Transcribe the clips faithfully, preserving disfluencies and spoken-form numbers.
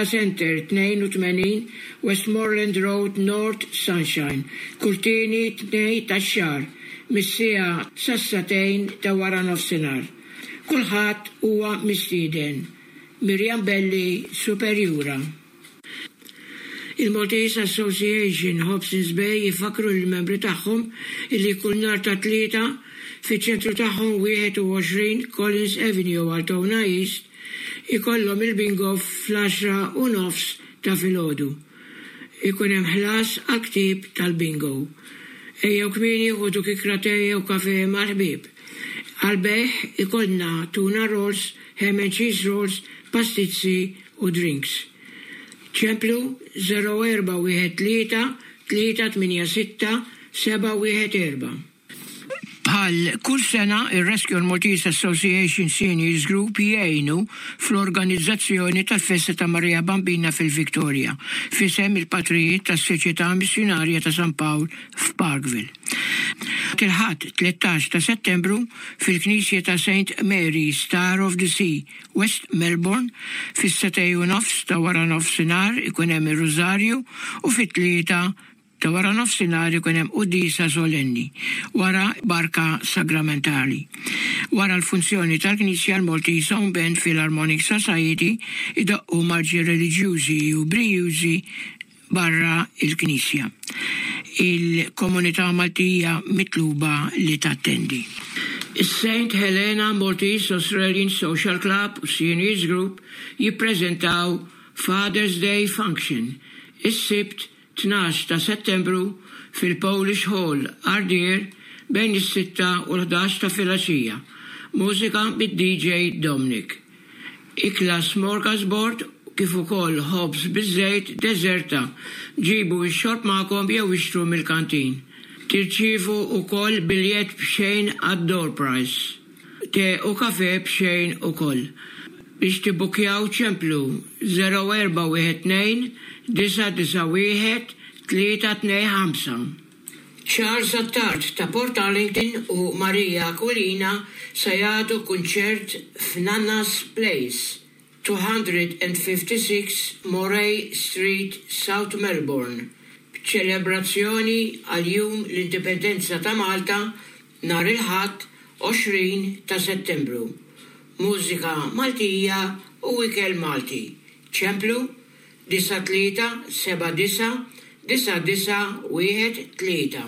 Center tnejn u tmenin Westmoreland Road, North Sunshine, kull tieni Tnejn tax-xahar, mis-siegħa sas-sagħtejn ta' wara nofsinhar. Kulħadd huwa mistieden. Mirjam Belli, Superjura. Il-Maltese Association Hobsons Bay jifakru l-membri tagħhom illi kull nhar ta' Tlieta fiċ-ċentru tagħhom wieħed u għoxrin Collins Avenue, Altona East, ikollhom il-bingo fl-għaxra u nofs ta' filgħodu. Ikun hemm ħlas għal ktib tal-bingo. Ejjew kmieni, ħudu kikra te jew kafe mal-ħbieb. Għal-bejgħ ikollna tuna rolls, ham and cheese rolls, pastizzi u drinks. ċemplu zero erba' wieħed tlieta tlieta tmienja sitta seba' wieħed erba'. Bħal kull sena, il-Rescue Maltese Association Seniors Group jgħinu fl-organizzazzjoni tal-Festa ta' Maria Bambina fil-Victoria, f'isem il-patrijiet tas-Soċjetà Missjonarja ta' San Pawl f'Parkville. Il-Ħadd tlettax ta' Settembru fil-Knisja ta' Saint Mary Star of the Sea, West Melbourne, fis-sagħtejn u nofs ta' wara nofsinhar ikun hemm ir-Rużarju u fit-tlieta ta' wara nofsinhar ikun hemm quddiesa solenni wara barka sagramentali. Wara l-funzjoni tal-Knisja, l-Maltese Home Band Philharmonic Society idoqqu marċi reliġjużi u brijużi barra il-Knisja. Il-komunità Maltija mitluba li tattendi. Is-Saint Helena Maltese Australian Social Club u Seniors Group jippreżentaw Father's Day Function is-Sibt tnax ta' Settembru fil-Polish Hall, Ardeer, bejn is-sitta u l-ħdax ta' filgħaxija. Mużika bid-D J Dominic. Ikla smorgasbord kif ukoll ħobż biż-żejt, deżerta. Ġibu x-xorb magħkom jew ixtru mill-kantin. Tirċievu ukoll biljett b'xejn għad-door prize. Te u kafe b'xejn ukoll. Biex tibbukjaw ċemplu zero erba' wieħed tnejn disa' disa' wieħed tlieta tnejn ħamsa. Charles Attard ta' Port Arlington u Maria Aquilina se jagħtu kunċert f'Nanna's Place, two hundred fifty-six Moray Street, South Melbourne, b'ċelebrazzjoni għal Jum l-Indipendenza ta' Malta nhar il-Ħadd għoxrin ta' Settembru. Mużika Maltija u ikel Malti. ċemplu disa' tlieta seba' disa' disa' disa' wieħed tlieta.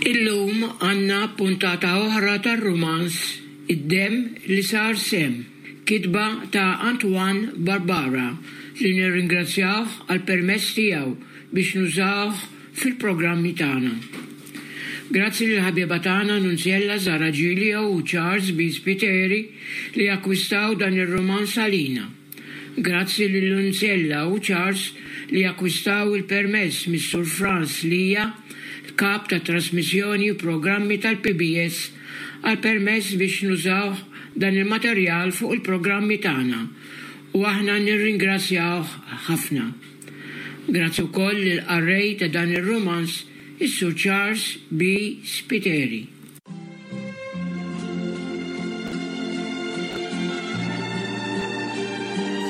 Illum għandna puntata oħra tar-rumanz Id-Demm li Sar Semm, kitba ta' Antoine Barbara, li nirringrazzjawh għal permess tiegħu biex nużawh fil-programmi tagħna. Grazzi lil ħabiba tagħna Nunzjella Zara Giglio u Charles B. Spiteri li akkwistaw dan ir-romanz għalina. Grazzi lil Nunzjella u Charles li akkwistaw il-permess mis-Sur Franz Lija, kap ta' trasmissjoni u programmi tal-P B S, għal permess biex nużaw dan il-materjal fuq il-programmi tagħna u aħna nirringrazzjawh ħafna. Grazzi wkoll lill-qarrej ta' dan ir-romanz, is-Sur Charles B. Spiteri.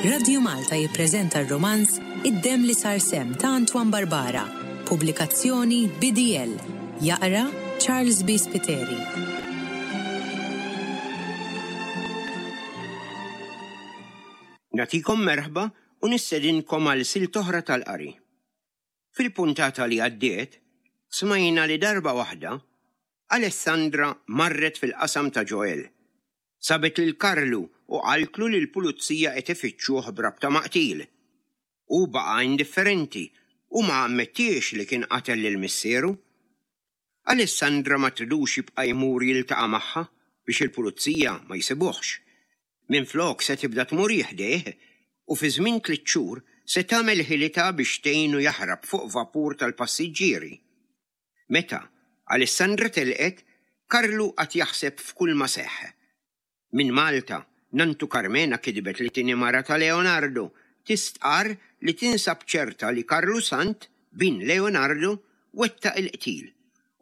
Radio Malta jippreżenta r-romanz Id-Demm li Sar Semm ta' Antoine Barbara, pubblikazzjoni B D L. Jaqra Charles B. Spiteri. Nagħtikom merħba u nistedinkom għal silta oħra tal-qari. Fil-puntata li għaddiet, smajna li darba waħda, Alessandra marret fil-qasam ta' Joel. Sabet lil Karlu u qaltlu li l-pulizija qed ifittxuh b'rabta ma' qtil. U baqa' indifferenti u ma ammettiex li kien qatel lil missieru. Alessandra ma tridux jibqa' jmur jiltaqa' magħha biex il-pulizija ma jsibuhx. Minflok se tibda tmur ħdejh u fi żmien tliet xhur se tagħmel ħilitha biex tgħinu jaħrab fuq vapur tal-passiġġieri. Meta Alessandra telqet, Karlu qagħad jaħseb f'kull ma seħħ. Min Malta, Nantu Carmena kitbet lit-tieni mara ta' Leonardo, tistqar li tinsab ċerta li Karlu Sant, bin Leonardo, wettaq il-qtil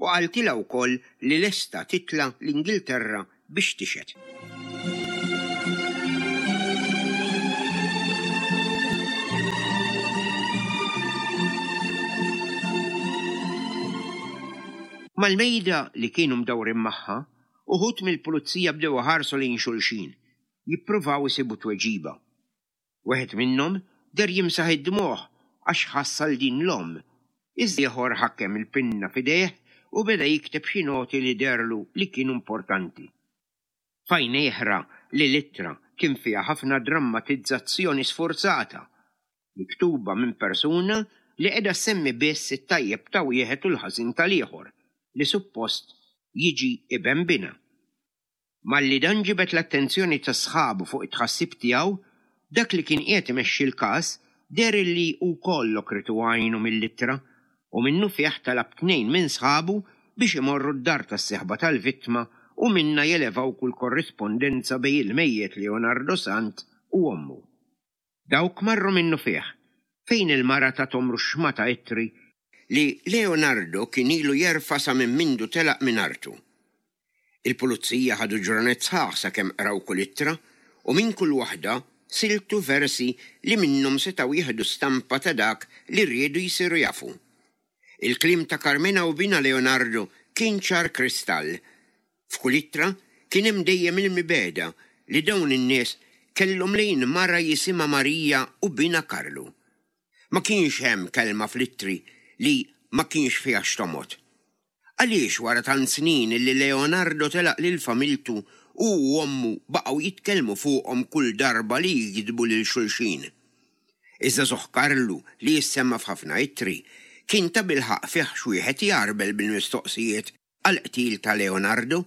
u qaltilha wkoll li lesta titla l-Ingilterra biex tixhed. Mal-mejda li kienu mdawrin magħha, uħud mill-pulizija bdew iħarsu lejn xulxin, jippruvaw isibu tweġiba. Wieħed minnhom deher jimsaħ id-dmugħ għax ħass għal din l-omm, iżda ieħor ħakem il-pinna f'idejh u beda jikteb xi noti li deherlu li kienu importanti. F'għajnejh ra li l-ittra kien fiha ħafna drammatizzazzjoni sfurzata, miktuba minn persuna li qiegħda ssemmi biss it-tajjeb ta' wieħed u l-ħażin tal-ieħor li suppost jiġi iben binha. Malli dan ġibed l-attenzjoni ta' sħabu fuq it-tħassib tiegħu, dak li kien qiegħed imexxi l-każ deher li wkoll għokritu għajnu mill-ittra u minnufih talab tnejn minn sħabu biex imorru d-dar tas-sieħba tal-vittma u minnha jelevaw kull korrispondenza bejn il-mejjet Leonardo Sant u ommu. Dawk marru minnufih, fejn il-mara tathom ruxxmata ittri li Leonardo kien ilu jerfa' sa minn mindu telaq minn artu. Il-pulizija ħadu ġranet sħaħ sakemm qraw kull ittra u minn kull waħda siltu versi li minnhom setgħu jieħdu stampa ta' dak li riedu jsiru jafu. Il-kliem ta' Carmena u binha Leonardo kien ċar kristall. F'kull ittra kien hemm dejjem il-mibegħda li dawn in-nies kellhom lejn mara jisimha Marija u binha Karlu. Ma kienx hemm kelma fl-ittri li ma kienx fiha x'tomgħod. Għaliex wara tant snin li Leonardo telaq lil familtu u ommu baqgħu jitkellmu fuqhom kull darba li jiktbu lil xulxin. Iż-żagħżugħ Karlu li jissemma f'ħafna ittri kien tabilħaqq fih x'wieħed jgħarbel bil-mistoqsijiet għall-qtil ta' Leonardo,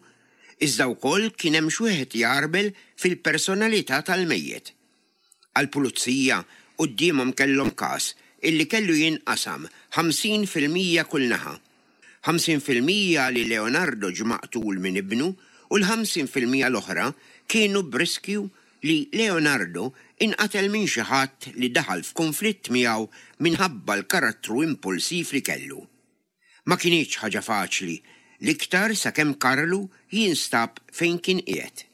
iżda wkoll kien hemm x'wieħed jgħarbel fil-personalità tal-mejjet. Għall-pulizija quddiemhom kellhom każ illi kellu jinqasam ħamsin fil-mija kull naħa. Ħamsin fil-mija li Leonardo ġie maqtul minn ibnu u l-ħamsin fil-mija l-oħra kienu b'riskju li Leonardo inqatel minn xi ħadd li daħal f'konflitt miegħu minħabba l-karattru impulsiv li kellu. Ma kinitx ħaġa faċli, l-iktar sakemm Karlu jinstab fejn kien qiegħed.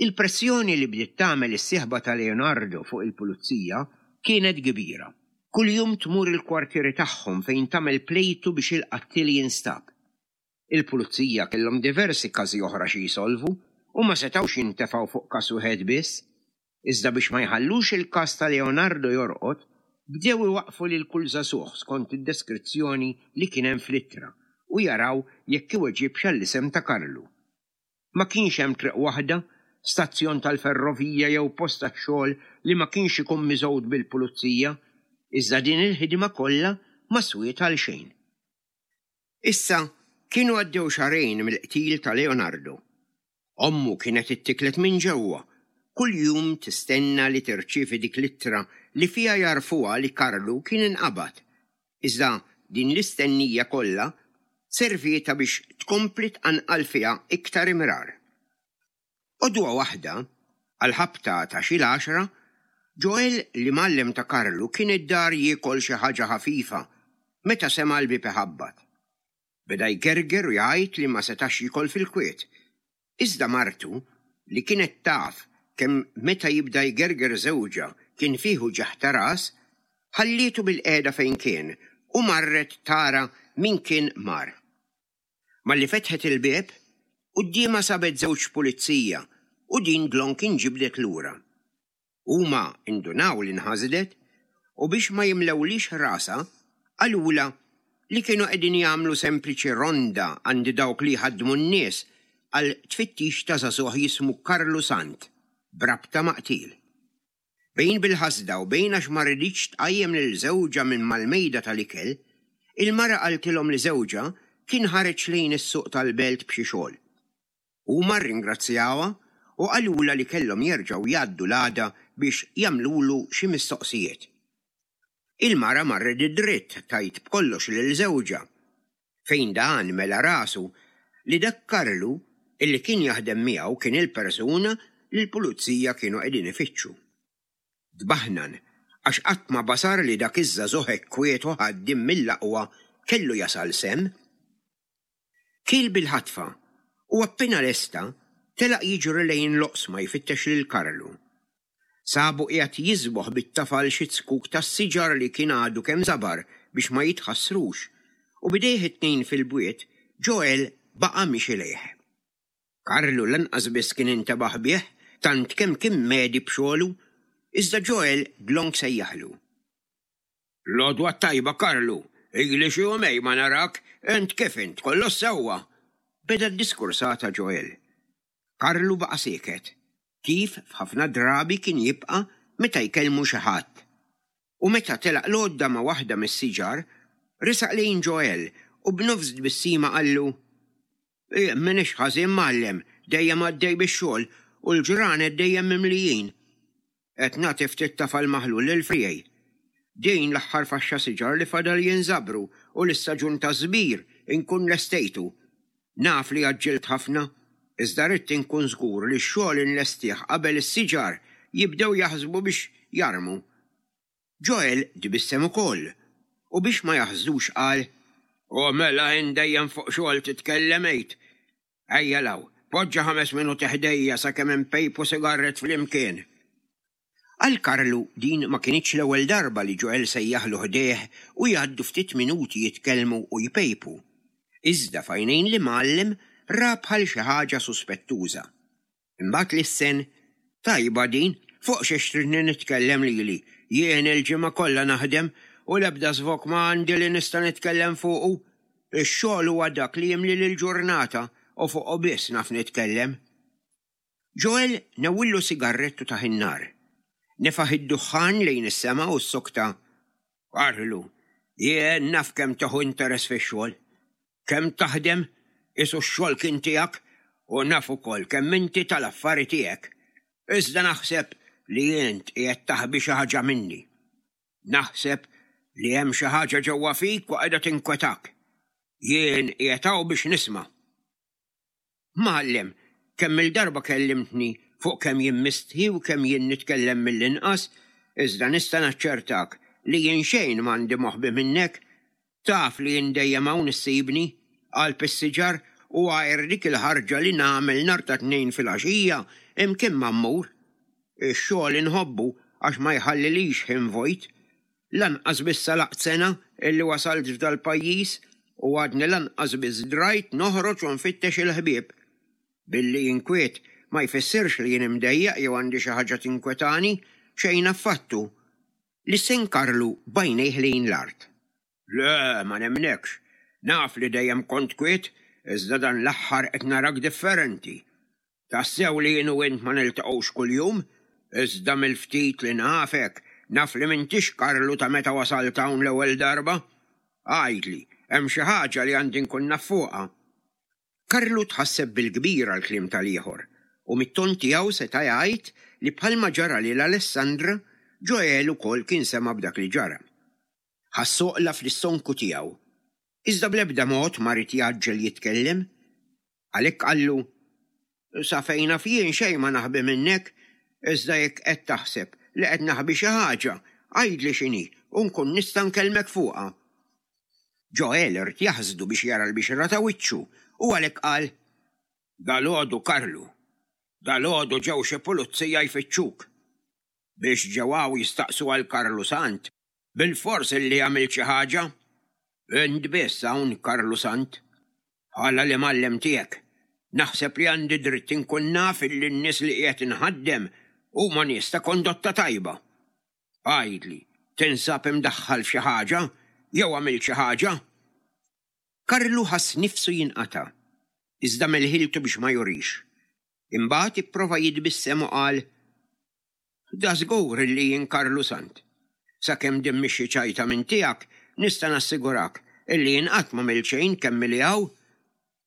Il-pressjoni li bdiet tagħmel is-sieħba ta' Leonardo fuq il-pulizija kienet kbira. Kuljum tmur il-kwartieri tagħhom fejn tagħmel plejtu biex il-qattiel jinstab. Il-pulizija kellhom diversi każi oħra xi jsolvu u ma setgħux jintefgħu fuq każ wieħed biss. Iżda biex ma jħallux il-każ ta' Leonardo jorqod, bdew iwaqfu lil kull żagħżugħ skont id-deskrizzjoni li kien hemm fl-ittra u jaraw jekk iweġibx għall-isem ta' Karlu. Ma kienx hemm triq waħda, stazzjon tal-ferrovija jew post tax-xogħol li ma kienx ikun miżgħud bil-pulizija, iżda din il-ħidma kollha ma swiet għal xejn. Issa kienu għaddew xahrejn mill-qtil ta' Leonardo. Ommu kienet ittiklet minn ġewwa, kuljum tistenna li tirċievi dik l-ittra li fiha jarfuha li Karlu kien inqabad. Iżda din l-istennija kollha servieta biex tkompli tqanqal fiha iktar imrar. Għodwa waħda, għal-ħabta ta' xi l-għaxra, Joel l-imgħallem ta' Karlu kien id-dar jiekol xi ħaġa ħafifa meta sema' l-bieb iħabbat. Beda jgerger u jgħid li ma setax jiekol fil-kwiet. Iżda martu, li kienet taf kemm meta jibda jgerger żewġha kien fih uġigħ ta' ras, ħallietu bil-qiegħda fejn kien u marret tara min kien mar. Malli fetħet il-bieb, quddiemha sabet żewġ pulizija u din dlonk inġibdet lura. Huma indunaw li nħasdet u biex ma jimlewlix rasha qalulha li kienu qegħdin jagħmlu sempliċi ronda għand dawk li jħaddmu n-nies għal tfittix ta' żagħżugħ jismu Karlu Sant b'rabta ma' qtil. Bejn bil-ħasda u bejn għax ma riditx tqajjem lil żewġha minn mal-mejda tal-ikel, il-mara qaltilhom li żewġha kien ħareġ lejn is-suq tal-belt b'xi xogħol. Huma rringrazzjawha u qalulha li kellhom jerġgħu jgħaddu l-għada biex jagħmlulu xi mistoqsijiet. Il-mara marret id-dritt tgħid b'kollox lil żewġha, fejn dan mela rasu li dak Karlu illi kien jaħdem miegħu kien il-persuna li l-pulizija kienu qegħdin ifittxu. Tbaħnan għax qatt ma basar li dak iż-żagħżugħ hekk kwiet u ħaddiem mill-aqwa kellu jasal semm. Kiel bil-ħatfa u appena lesta telaq jiġri lejn l-oqsma jfittex lil Karlu. Sabu qiegħed jiżboħ bit-tafal xi zkuk tas-siġar li kien għadu kemm żabar biex ma jitħassrux u bidejh it-tnejn fil-bwiet Joel baqa' miexi lejh. Karlu lanqas biss kien intebaħ bih tant kemm kien medhi b'xogħlu, iżda Joel dlonk sejjaħlu. L-għodwa tajba, Karlu, ili xi jumejn ma narak, int kif int, kollox sewwa? Beda d-diskursata Joel. Karlu baqa' sieket, kif f'ħafna drabi kien jibqa' meta jkellmu xi ħadd. U meta telaq l-għodda ma' waħda mis-siġar, resaq lejn Joel u b'nofs tbissima qallu: "M'iniex ħażin, mgħallem, dejjem għaddej bix-xogħol u l-ġranet dejjem mimlijin. Qed nagħti ftit tafal maħlul lil friegħi. Din l-aħħar faxxa siġar li fadal jinżabru u l-istaġun ta' żbir inkun lestejtu. Naf li għaġġilt ħafna, iżda ridt inkun żgur li x-xogħol inlestih qabel is-siġar jibdew jaħsbu biex jarmu." Joel tbissem ukoll u biex ma jaħsdux qal: "U mela int dejjem fuq xogħol titkellem għid. Ejja 'l hawn, poġġa ħames minuti ħdejja sakemm inpejpu sigarret flimkien." Għal Karlu din ma kinitx l-ewwel darba li Joel sejjaħlu ħdejh u jgħaddu ftit minuti jitkellmu u jpejpu. Iżda f'għajnejn l-imgħallem ra bħal xi ħaġa suspettuża. Imbagħad lissen: "Tajba din, fuq xiex tridni nitkellem lili, jien il-ġimgħa kollha naħdem u l-ebda żvog ma għandi li nista' nitkellem fuqu. Ix-xogħol huwa dak li jimli l-ġurnata u fuqu biss naf nitkellem." Joel newwillu sigarrettu tah in-nar. Nefaħ id-duħħan lejn is-sema u ssokta: "Karlu, jien naf kemm tieħu interess fix-xogħol. Kemm taħdem, qisu x-xogħol kien tiegħek, u naf ukoll kemm inti tal-affari tiegħek. Iżda naħseb li int qiegħed taħbi xi ħaġa minni. Naħseb li hemm xi ħaġa ġewwa fik u qiegħda tinkwetak. Jien qiegħed hawn biex nisma'." "Mgħallem, kemm il-darba kellimtni fuq kemm jien mistħi u kemm jien nitkellem mill-inqas, iżda nista' naċċertak li jien xejn m'għandi moħbi minnek. Taf li jien dejjem hawn issibni, qalb is-siġar u għajr dik il-ħarġa li nagħmel nhar ta' Tnejn filgħaxija imkien ma mmur. Ix-xogħol inħobbu għax ma jħallilix ħin vojt. Lanqas biss għalaqt sena illi wasalt f'dal-pajjiż u għadni lanqas biss drajt noħroġ u nfittex il-ħbieb. Billi jien kwiet ma jfissirx li jien imdejjaq jew għandi xi ħaġa tinkwetani, xejn affattu." Lissen Karlu b'għajnejh lejn l-art. "Le, ma nemnekx. Naf li dejjem kont kwiet, iżda dan l-aħħar qed narak differenti. Tassew li jien u int ma niltaqgħux kuljum, iżda mill-ftit li nafek, naf li m'intix Karlu ta' meta wasalt hawn l-ewwel darba. Għidli, hemm xi ħaġa li għandi nkun naf fuqha?" Karlu tħasseb bil-kbir għall-kliem tal-ieħor u mit-ton tiegħu seta' jgħid li bħalma ġara lil Alessandra, Joel ukoll kien sema' b'dak li ġara. Ħass għoqla fl-istonku tiegħu, iżda bl-ebda mod ma ried jgħaġġel jitkellem. Għalhekk qallu: "Sa fejn naf jien xejn ma naħbi minnek, iżda jekk qed taħseb li qed naħbi xi ħaġa, għidli x'inhi u nkun nista' nkellmek fuqha." Joel irid jaħsdu biex jara l-bixra ta' wiċċu u għalhekk qal: "Dalgħodu, Karlu, dalgħodu ġew xi pulizija jfittxuk. Biex ġew hawn jistaqsu għal Karlu Sant, bilfors illi għamilt xi ħaġa. Int biss hawn Karlu Sant, bħala l-imgħallem tiegħek. Naħseb li għandi dritt inkun naf illi n-nies li qiegħed inħaddem huma nies ta' kondotta tajba. Għidli, tinsab imdaħħal f'xi ħaġa jew għamilt xi ħaġa?" Karlu ħass nifsu jinqata', iżda melħiltu biex ma jurix. Imbagħad ipprova jitbissem u qal: "Da żgur illi jien Karlu Sant. Sakemm din mhix xi ċajta minn tiegħek, nista' nassigurak illi jien qatt m'għamilt xejn kemm ili hawn.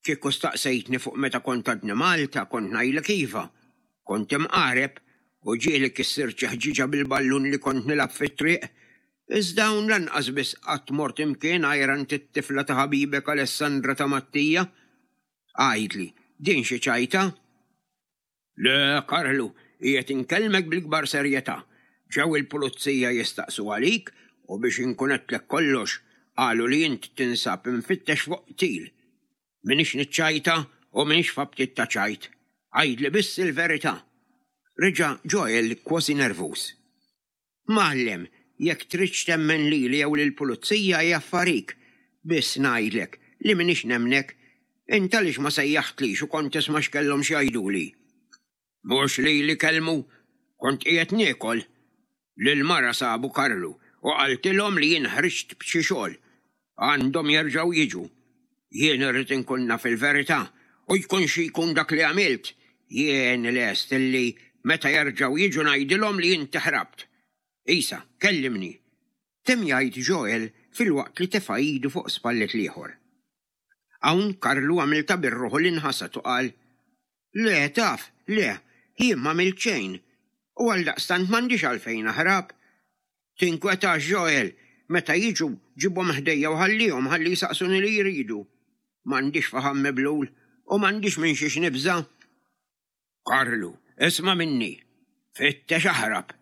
Kieku staqsejtni fuq meta kont għadni Malta, kont ngħidlek iva. Kont imqareb u ġieli kissirt xi ħġiġa bil-ballun li kont nilgħab fit-triq. Iżda hawn lanqas biss qatt mort imkien għajr għand it-tifla ta' ħabibek Alessandra ta' Mattija. Għidli, din xi ċajta?" "Le, Karlu, qiegħed inkellmek bil-kbar serjetà. Ġew il-pulizija jistaqsu għalik u biex inkun għedtlek kollox, qalu li int tinsab imfittex fuq qtil. M'iniex niċċajta u m'iniex f'aptit ta' ċajt. Għidli biss il-verità." Reġa' Joel kważi nervuż. "Mgħallem, jekk tridx temmen lili jew lill-pulizija hija affarik, biss ngħidlek li m'iniex nemmnek. Int għaliex ma sejjaħtlix u kont tisma' x'kellhom x'jgħiduli? Mhux lili kellmu, kont qiegħed niekol. Lill-mara sabu Karlu u qaltilhom li jien ħriġt b'xi xogħol. Għandhom jerġgħu jiġu. Jien irrid inkun naf il-verità u jkun xi jkun dak li għamilt, jien lest illi meta jerġgħu jiġu ngħidilhom li inti ħrabt. Isa, kellimni. Temm jgħid Joel filwaqt li tefa' idu fuq spallet l-ieħor. Hawn Karlu għamel ta' birruħu li nħasad u qal, Le, taf, le, jien m'għamilt xejn. U għaldaqstant m'għandix għalfejn naħrab. Tinkwetax Joel, meta jiġu ġibhom ħdejja u ħallihom ħalli jsaqsuni li jridu. M'għandix faħam miblul u m'għandix minn xiex nibża'. Karlu, isma' minni, fittex aħrab.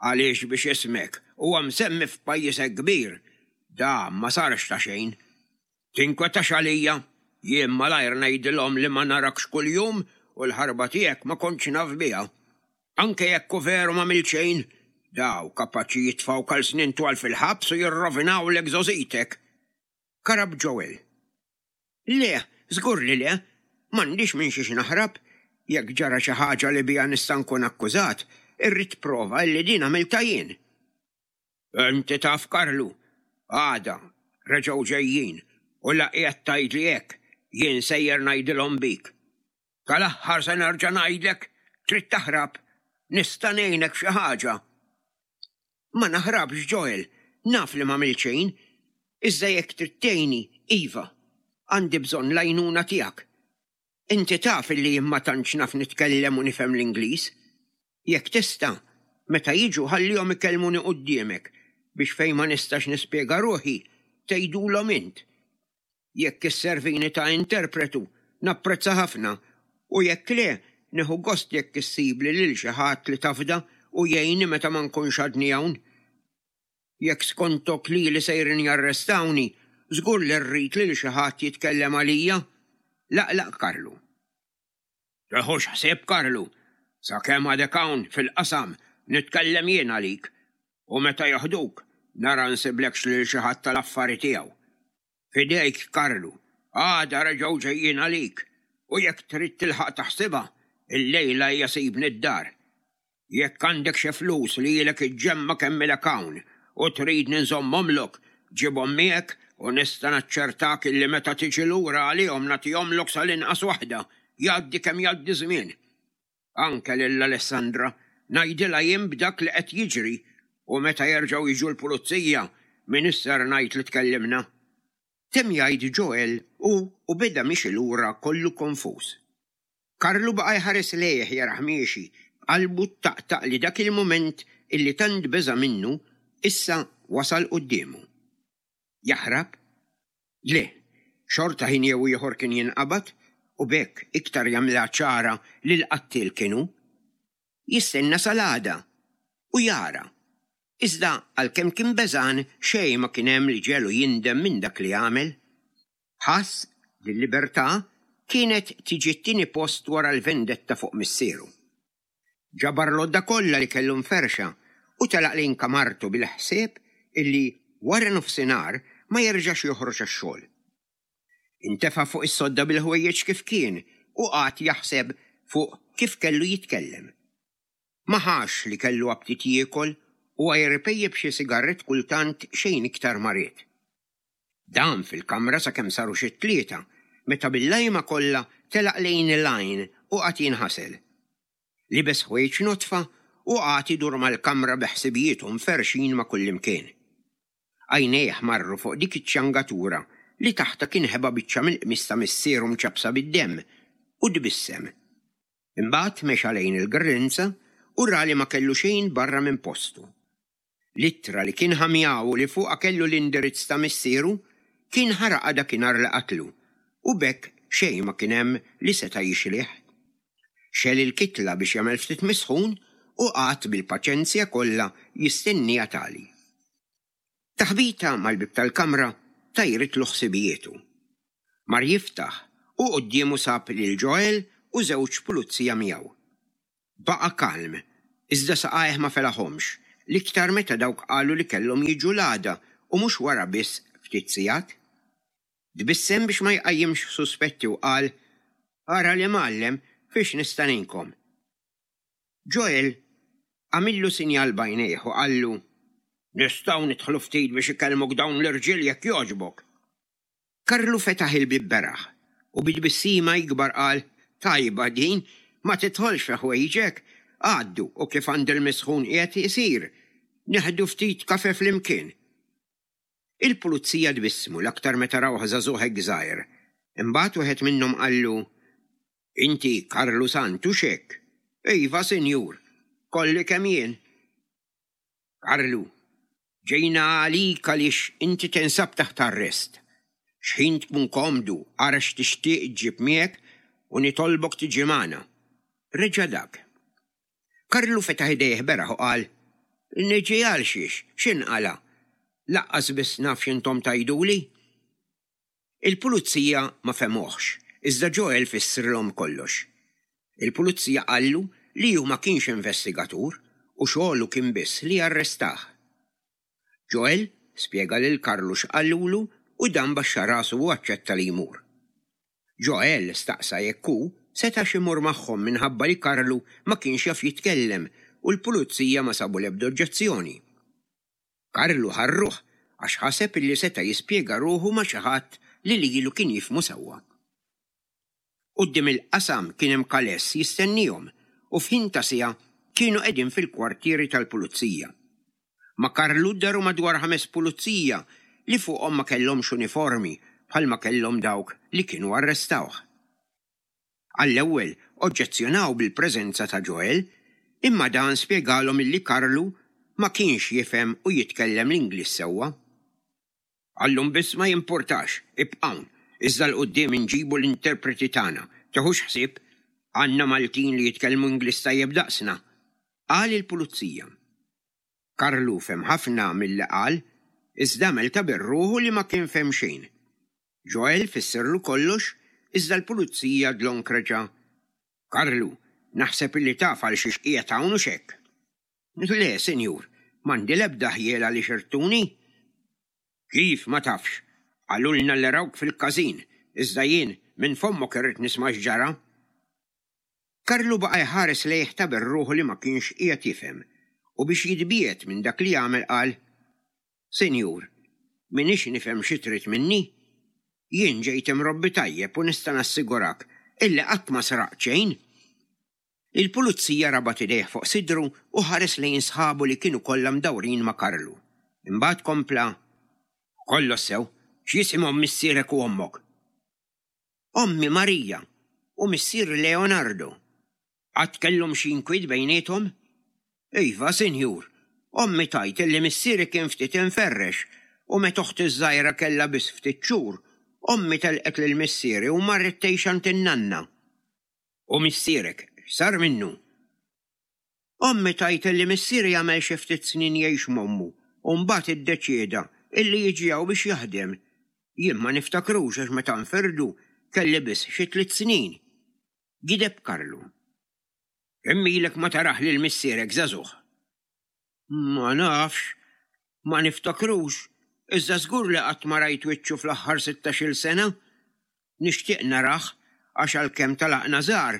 Għaliex biex ismek huwa msemmi f'pajjiż hekk kbir, dan ma sarx ta' xejn. Tinkwetax għalija, jien malajr ngħidilhom li ma narakx kuljum u l-ħarba tiegħek ma kontx naf biha. Anke jekk hu veru m'għamilt xejn, daw kapaċi jitfgħuk għal snin twal fil-ħabs u jirrovinawlek żgħożitek. Karab Joel. Le, żgur li le, m'għandix minn xiex naħrab. Jekk ġara xi ħaġa li biha nista' nkun akkużat, irrid prova li din għamiltha jien. Inti taf Karlu, għada reġgħu ġejjin u la qiegħed tgħidli hekk, jien sejjer ngħidilhom bik. Tal-aħħar se nerġa' ngħidlek, trid taħrab, nista' ngħinek f'xi ħaġa. Ma naħrabx Joel, naf li m'għamilt xejn, iżda jekk trid tgħinni, iva, għandi bżonn l-għajnuna tiegħek. Inti taf illi jien ma tantx naf nitkellem u nifhem l-Ingliż. Jekk tista', meta jiġu ħallihom ikellmuni quddiemek biex fejn ma nistax nispjega ruħi, tgħidulhom int. Jekk isservini ta' interpretu, napprezza ħafna, u jekk le, nieħu gost jekk issibli lil xi ħadd li tafda u jgħinni meta ma nkunx għadni hawn. Jekk skontok lili sejrin jarrestawni, żgur li rrid lil xi ħadd jitkellem għalija. Laqlaq Karlu. Teħux ħsieb Karlu, sakemm għadek hawn fil-qasam nitkellem jien għalik, u meta joħduk nara nsiblekx lil xi ħadd tal-affari tiegħu. Fidejk Karlu, għada reġgħu ġejjin għalik, u jekk trid tilħaq taħsibha, illejla hija sibni d-dar. Jekk għandek xi flus li ilek iġġemma' kemm ilek hawn u tridni nżommhomlok, ġibhom miegħek u nista' naċċertak illi meta tiġi lura għalihom nagħtihomlok sal-inqas waħda, jgħaddi kemm jgħaddi żmien. Anke lil Alessandra ngħidilha jien b'dak li qed jiġri u meta jerġgħu jiġu l-pulizija min isser ngħid li tkellimna. Temm jgħid Joel u u beda miexi lura kollu konfuż. Karlu baqa' jħares lejh jarah miexi, b'qalbu ttaqtaq li dak il-mument illi tant beża' minnu issa wasal quddiemu. Jaħrab? Le, xorta ħin jew ieħor kien jinqabad u b'hekk iktar jagħmilha ċara li l-qattiel kien hu. Jistenna sal-għada u jara. Iżda għalkemm kien beżgħan xejn ma kien hemm li ġegħlu jindem minn dak li għamel. Ħass li l-libertà kienet tiġi t-tieni post wara l-vendetta fuq missieru. Ġabar l-għodda kollha li kellu mferrxa u telaq lejn kamartu bil-ħsieb illi wara nofsinhar ma jerġax joħroġ għax-xogħol. Intefa' fuq is-sodda bil-ħwejjeġ kif kien u qagħad jaħseb fuq kif kellu jitkellem. Ma ħax li kellu aptit jiekol u għajr ipejjep xi sigarett kultant xejn iktar ma ried. Dam fil-kamra sakemm saru xi tlieta, meta bil-lajma kollha telaq lejn il-għajn u qagħad jinħasel. Libes ħwejjeġ nodfa u qagħad idur mal-kamra bi ħsibijietu mferrxin ma' kullimkien. Għajnejh marru fuq dik iċ-ċangatura li taħtha kien ħeba biċċa mill-qmis ta' missieru mċappsa bid-demm u tbissem. Imbagħad mexa lejn il-grinza u ra li ma kellu xejn barra minn postu. L-ittra li kien ħa miegħu li fuqha kellu l-indirizz ta' missieru kien ħaraqha dakinhar li qatlu u b'hekk xejn ma kien hemm li seta' jixlih. Xegħel il-kitla biex jagħmel ftit misħun u qagħad bil-paċenzja kollha jistenniha tagħli. Taħbita mal-bieb tal-kamra tajritlu ħsibijietu. Mar jiftaħ u quddiemu sab lil Joel u żewġ pulizija miegħu. Baqa' kalm, iżda saqajh ma felaħhomx, l-iktar meta dawk qalu li kellhom jiġu l-għada u mhux wara biss ftit sigħat. Tbissem biex ma jqajjimx suspetti u qal, "Ara l-imgħallem, fiex nista' ngħinkom?" Joel għamillu sinjal b'għajnejh u qallu, "Nistgħu nidħlu ftit biex ikellmuk dawn l-irġiel jekk jogħġbok." Karlu fetaħ il-bieb beraħ u bi tbissima ikbar qal, "Tajba din, ma tidħolx fi ħwejġek, għaddu u kif għand il-misħun qiegħed isir, nieħdu ftit kafe flimkien." Il-pulizija tbissmu l-aktar meta rawh żagħżugħ hekk żgħir. Imbagħad wieħed minnhom qallu, "Inti Karlu Sant hux hekk?" "Iva, sinjur, kolli kemm jien." "Karlu, ġejna għalik għaliex inti tinsab taħt arrest. X'ħin tkun komdu, ara x'tixtieq ġġib miegħek u nitolbok tiġi magħna." Reġa' dak. Karlu fetaħ idejh beraħ u qal, "Niġi għal xiex, x'inqala'? Lanqas biss naf x'intom tgħiduli." Il-pulizija ma fehmuhx, iżda Joel fissrilhom kollox. Il-pulizija qallu li hu ma kienx investigatur u xogħlu kien biss li arrestah. Joel spjega lil Karlu x'qalulu u dan baxxa rasu u aċċetta li jmur. Joel staqsa jekk hu setax imur magħhom minħabba li Karlu ma kienx jaf jitkellem u l-pulizija ma sabu l-ebda oġġezzjoni. Karlu ħarruh għax ħaseb illi seta' jispjega ruħu ma' xi ħadd li lilu kien jifhmu sewwa. Quddiem il-qasam kien hemm kaless jistennihom u f'ħin ta' siegħa kienu qegħdin fil-kwartieri tal-pulizija. Ma' Karlu daru madwar ħames pulizija li fuqhom ma kellhomx uniformi bħalma kellhom dawk li kienu arrestawh. Għall-ewwel oġġezzjonaw bil-preżenza ta' Joel, imma dan spjegalhom illi Karlu ma kienx jifhem u jitkellem l-Ingliż sewwa. "Għallum biss ma jimpurtax, ibqgħu, iżda 'l quddiem inġibu l-interpreti tagħna, teħux ħsieb, għandna Maltin li jitkellmu Ingliż tajjeb daqsna," qal il-pulizija. Karlu fehem ħafna milli qal, iżda għamel ta' birruħu li ma kien fehem xejn. Joel fissirlu kollox, iżda l-pulizija dlonk reġa', "Karlu, naħseb illi taf għal xiex qiegħed hawn hux hekk?" "Le, sinjur, m'għandi l-ebda ħjiel għaliex irtuni." "Kif ma tafx? Qalulna li rawk fil-każin, iżda jien minn fommok irrid nisma' x'ġara." Karlu baqa' jħares lejh ta' birruħu li ma kienx qiegħed jifhem u biex jitbiegħed minn dak li għamel qal, "Sinjur, m'iniex nifhem xi trid minni. Jien ġejt imrobbi tajjeb u nista' nassigurak illi qatt ma sraqt xejn." Il-pulizija rabat idejh fuq sidru u ħares lejn sħabu li kienu kollha mdawrin ma' Karlu. Imbagħad kompla, "Kollox sew, x'jisimhom missierek u ommok?" "Ommi Marija u missier Leonardo." "Qatt kellhom xi inkwiet bejniethom?" "Iva, sinjur, ommi tgħid illi missieri kien ftit inferrex u meta oħti żgħira kellha biss ftit xhur, ommi telqet lil missieri u marret tgħix għand in-nanna." "U missierek, x'sar minnu?" "Ommi tgħid illi missieri għamel xi ftit snin jgħix m'ommu u mbagħad iddeċieda illi jiġi hawn biex jaħdem. Jien ma niftakrux għax meta nfirdu kelli biss xi tliet snin." Gideb Karlu. "Kemm ilek ma taraħ lil missierek żagħżugħ?" "Ma nafx, ma niftakrux, iżda żgur li qatt ma rajt wiċċu fl-aħħar sittax-il sena. Nixtieq narah għax għalkemm talaqna żgħar,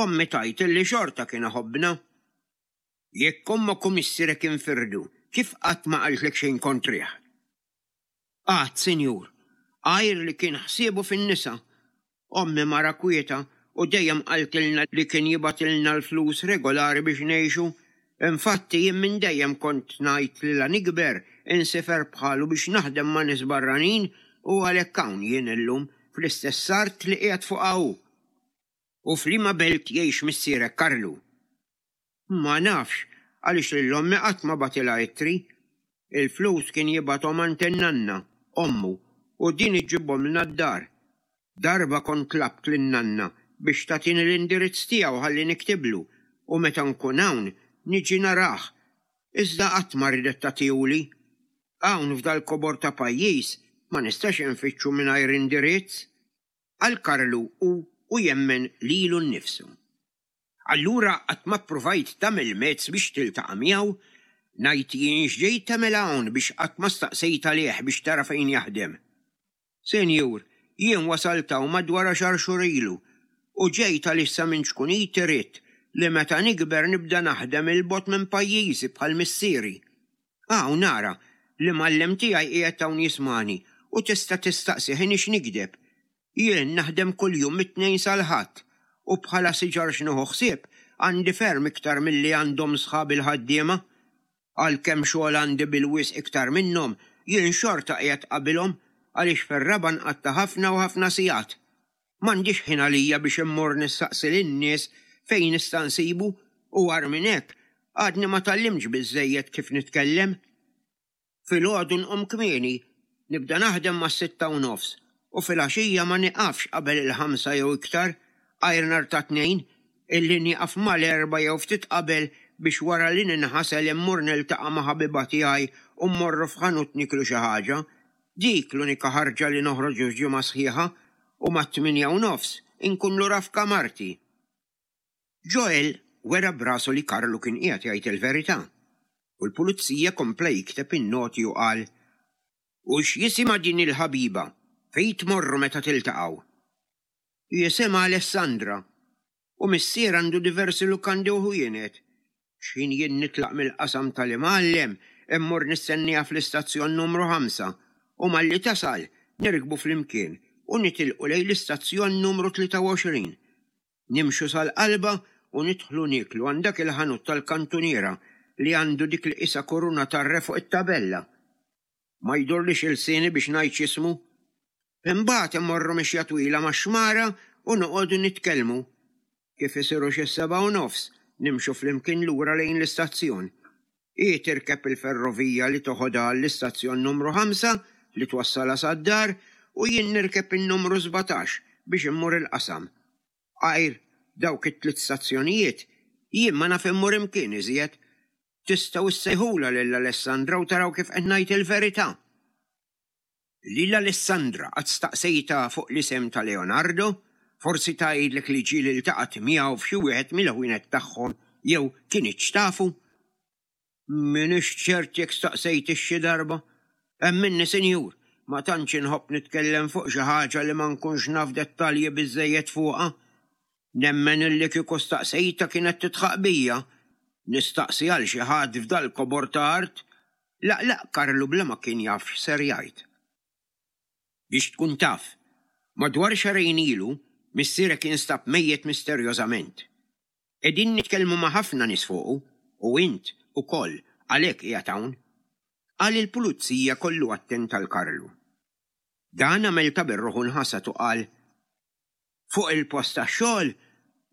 ommi tgħid illi xorta kien iħobbna." "Jekk ommok u missierek infirdu, kif qatt ma qaltlek xejn kontrih?" "Qatt, sinjur, għajr li kien ħsiebu fin-nisa. Ommi mara kwieta u dejjem qaltilna li kien jibgħatilna l-flus regolari biex ngħixu. Infatti jien minn dejjem kont ngħid li la nikber insifer bħalu biex naħdem ma' nies barranin u għalhekk hawn jien illum fl-istess art li qiegħed fuqha hu." "U f'liema belt jgħix missierek Karlu?" "Ma nafx, għaliex lil ommi qatt ma bagħtilha ittri. Il-flus kien jibgħathom għand in-nanna, ommu, u din iġġibhomlna d-dar. Darba kont tlabt lin-nanna biex tagħtini l-indirizz tiegħu ħalli niktiblu u meta nkun hawn niġi narah, iżda qatt ma ridet tagħtihuli. Hawn f'dal-kobor ta' pajjiż ma nistax infittxu mingħajr indirizz." Qal Karlu u u jemmen lilu nnifsu. "Allura qatt ma ppruvajt tagħmel mezz biex tiltaqa' miegħu? Ngħid jien x'ġejt tagħmel hawn biex qatt ma staqsejt għalih biex tara fejn jaħdem." Senjur, jien wasalt hawn madwar għaxar xhur ilu u ġejt għaliex sa minn ċkuniti ridt li meta nikber nibda naħdem 'il bogħod minn pajjiżi bħal missieri. Hawn ara, l-imgħallem tiegħi qiegħed hawn jismagħni u tista' tistaqsih iniex nigdeb. Jien naħdem kuljum mit-Tnejn sal-Ħadd u bħala siġar x'nieħu ħsieb għandi ferm iktar milli għandhom sħabi l-ħaddiema. Għalkemm xogħol għandi bil-wisq iktar minnhom, jien xorta qiegħed qabilhom għaliex fir-raba' nqatta' ħafna u ħafna sigħat. M'għandix ħin għalija biex immur nistaqsi lin-nies fejn nista' nsibu u agħar minn hekk għadni ma tgħallimtx biżżejjed kif nitkellem. Filgħodu nqum kmieni, nibda naħdem mas-sitta u nofs u filgħaxija ma nieqafx qabel il-ħamsa jew iktar, għajr nhar ta' Tnejn, illi nieqaf mal-erbgħa jew ftit qabel biex wara li ninħasel immur niltaqa' ma' ħabiba tiegħi u mmorru f'ħanut nieklu xi ħaġa. Dik l-unika ħarġa li noħroġ f'ġimgħa sħiħa u mat-tmienja u nofs inkun lura f'kamarti. Joel wera b'rasu li Karlu kien qiegħed jgħid il-verità u l-pulizija kompla jikteb in-noti u qal, U x'jisimha din il-ħabiba? Fejn tmorru meta tiltaqgħu? Jisimha Alessandra u missier għandu diversi lukandi u ħwienet. X'ħin jien nitlaq mill-qasam tal-imgħallem, immur nistenniha fl-istazzjon numru ħamsa u malli tasal nirkbu flimkien u nitilqu lejn l-istazzjon numru tlieta u għoxrin. Nimxu sal-qalba u nidħlu nieklu għand dak il-ħanut tal-kantuniera li għandu dik li qisha kuruna tar-re fuq it-tabella. Ma jdurlix ilsieni biex ngħid x'ismu. Imbagħad immorru mixja twila max-xmara u noqogħdu nitkellmu. Kif isiru xi s-sebgħa u nofs, nimxu flimkien lura lejn l-istazzjon. Hi tirkeb il-ferrovija li toħodha għall-istazzjon numru ħamsa li twassalha sad-dar u jien nirkeb in-numru sbatax biex immur il-qasam. Għajr dawk it-tliet stazzjonijiet, jien ma naf immur imkien iżjed. Tistgħu ssejħulha lil Alessandra u taraw kif qed ngħid il-verità. Lil Alessandra qatt staqsejtha fuq l-isem ta' Leonardo? Forsi tgħidlek li ġieli ltaqgħet miegħu f'xi wieħed mill-ħwienet tagħhom jew kinitx tafu? M'iniex ċert jekk staqsejtix xi darba. Emminni, sinjur, ma tantx inħobb nitkellem fuq xi ħaġa li ma nkunx naf dettalji biżżejjed fuqha. Nemmen illi kieku staqsejtha kienet tidħaq bija. Nistaqsi għal xi ħadd f'dal-kobor ta' art? Laqlaq Karlu bla ma kien jaf x'ser jgħid. Biex tkun taf, madwar xahrejn ilu missierek instab mejjet misterjożament. Qegħdin nitkellmu ma' ħafna nies fuqu u int ukoll għalhekk qiegħed hawn. Qal il-pulizija kollu attent għal Karlu. Dan għamel ta' birruħu nħasad u qal, Fuq il-post tax-xogħol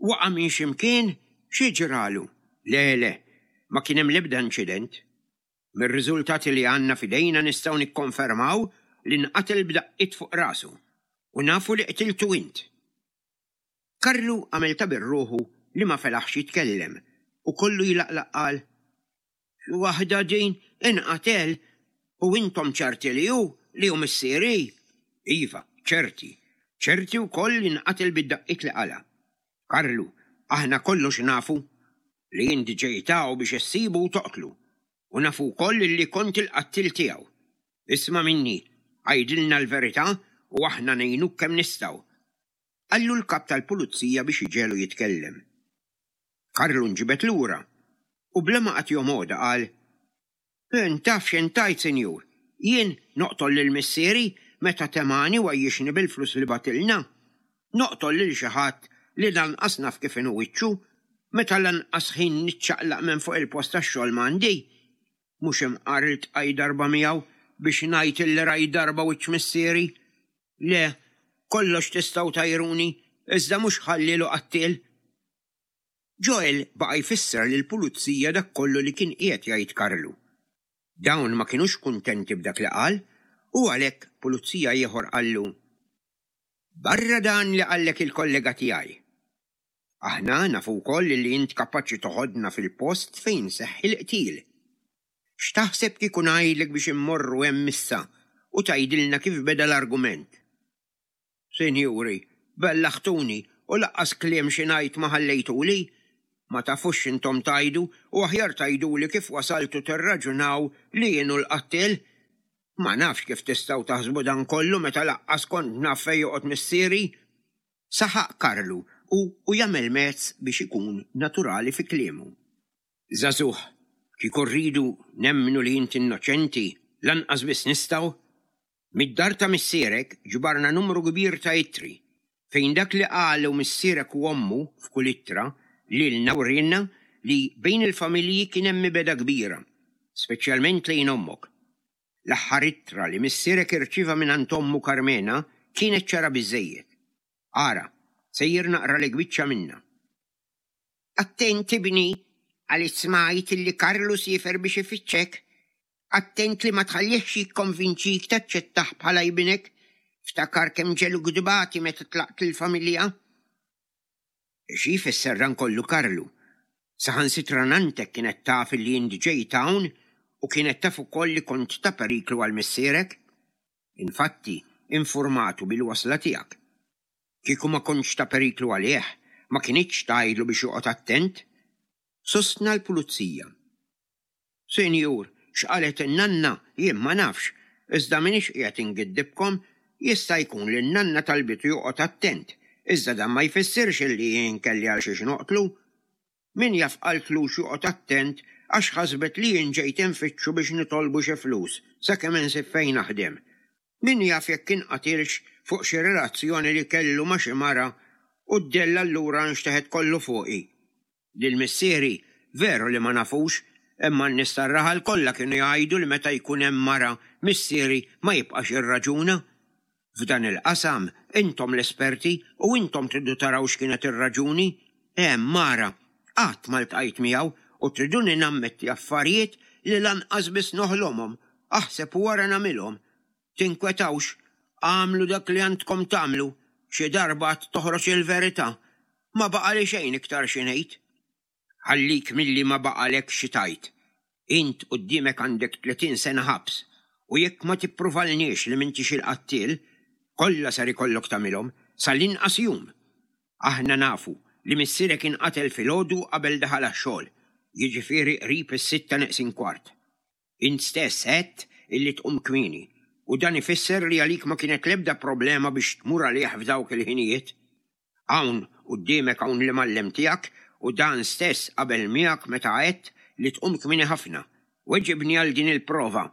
waqa' minn xi mkien, xi ġralu? Le, le, ma kien hemm l-ebda inċident. Mir-riżultati li għandna f'idejna nistgħu nikkonfermaw li nqatel b'daqqiet fuq rasu u nafu li qtiltu int. Karlu għamel ta' birruħu li ma felaħx jitkellem u kollu jlaqlaq qal, Xi waħda din inqatel u intom ċerti li hu li hu missieri? Iva, ċerti. Ċerti wkoll li nqatel bid-daqqiet li qala. Karlu, aħna kollox nafu li inti ġejt hawn biex issibu u toqtlu, u nafu wkoll li kont il-qattil tiegħu. Isma' minni, għidilna l-verità u aħna ngħinuk kemm nistgħu. Qallu l-kap tal-pulizija biex iġegħlu jitkellem. Karlu nġibed lura u bla ma qagħad jomgħodha qal, Int taf x'int tgħid, sinjur, jien noqtol lil missieri meta temani u għajjixni bil-flus li batilna. Noqtol lil xi ħadd li lanqas naf kif inhu wiċċu, meta lanqas ħin niċċaqlaq minn fuq il-post tax-xogħol m'għandi. Mhux imqar iltqajt darba miegħu biex ngħid illi rajt darba wiċċ missieri. Le, kollox tistgħu tgħajruni, iżda mhux ħallielu qattiel. Joel baqa' jfisser lill-pulizija dak kollu li kien qiegħed jgħid Karlu. Dawn ma kinux kuntenti b'dak li qal u għalhekk pulizija ieħor qallu, Barra dan li qallek il-kollega tiegħi. Aħna nafu wkoll li int kapaċi toħodna fil-post fejn seħħ il-qtil. X'taħseb kieku ngħidlek biex immorru hemm issa u tgħidilna kif beda l-argument? Sinjuri, bellaħtuni u laqqas kliem xi ngħid ma ħallejtuli. Ma tafux x'intom tgħidu u aħjar tgħiduli kif wasaltu tirraġunaw li jien hu l-qattiel. Ma nafx kif tistgħu taħsbu dan kollu meta laqqas kont naf fejn joqgħod missieri. Saħaq Karlu u u jagħmel mezz biex ikun naturali fi kliemu. Żagħżugħ, kieku rridu nemmnu li int innoċenti, lanqas biss nistgħu. Mid-dar ta' missierek ġbarna numru kbir ta' ittri, fejn dak li qalu missierek u ommu f'kull ittra lilna wriena li bejn il-familji kien hemm mibegħda kbira, speċjalment lejn ommok. L-aħħar ittra li missierek irċieva mingħand ommu Karmena kienet ċara biżżejjed. Ara, sejjer naqralek biċċa minnha. Attent ibni, għaliex smajt illi Karlu siefer biex ifittxek. Attent li ma tħallihx jikkonvinċik taċċettah bħala ibnek. Ftakar kemm ġegħluk tbati meta tlaqt il-familja. Xi jfisser dan kollu Karlu? Saħansitra nanntek kienet taf li int ġejt hawn u kienet taf ukoll li kont ta' periklu għal missierek. Infatti, informatu bil-wasla tiegħek. Kieku ma kontx ta' periklu għalih, ma kinitx tgħidlu biex joqgħod attent. Sostna l-pulizija. Sinjur, x'qalet in-nanna jien ma nafx, iżda m'iniex qiegħed ingiddibkom, jista' jkun li n-nanna talbitu joqgħod attent, iżda dan ma jfissirx illi jien kelli għal xiex noqtlu. Min jaf qaltlux joqgħod attent għax ħasbet li jien ġejt infittxu biex nitolbu xi flus sakemm insib fejn naħdem. Min jaf jekk inqatilx fuq xi relazzjoni li kellu ma' xi mara u d-dell allura nxteħet kollu fuqi. Lil missieri veru li ma nafux, imma n-nies tar-raħal kollha kienu jgħidu li meta jkun hemm mara missieri ma jibqax jirraġuna. F'dan il-qasam intom l-esperti u intom tridu taraw x'kienet ir-raġuni. Hemm mara, qatt ma ltqajt miegħu u triduni nammetti affarijiet li lanqas biss noħlomhom, aħseb u wara nagħmilhom. Tinkwetawx, agħmlu dak li għandkom tagħmlu, xi darba għad toħroġ il-verità. Ma baqali xejn iktar xi ngħid. Ħallik milli ma baqalek xi tgħid. Int quddiemek għandek tletin sena ħabs u jekk ma tippruvalniex li m'intix il-qattiel, kollha ser ikollok tagħmilhom sal-inqas jum. Aħna nafu li missierek inqatel filgħodu qabel daħal għax-xogħol, jiġifieri qrib is-sitta neqsin kwart. Int stess għedt illi tqum kmieni u dan ifisser li għalik ma kienet l-ebda problema biex tmur għalih f'dawk il-ħinijiet. Hawn quddiemek hawn l-imgħallem tiegħek u dan stess qabel miegħek meta għedt li tqum kmieni ħafna. Weġibni għal din il-prova.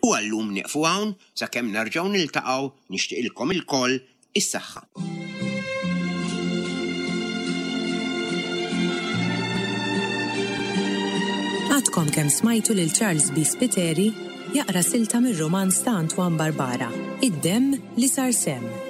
U għallum nieqfu hawn sakemm nerġgħu niltaqgħu nixtieqilkom ilkoll is-saħħa. Għadkom kemm smajtu lil Charles B. Spiteri jaqra silta mir-romanz ta' Antoine Barbara, Id-demm li sar semm.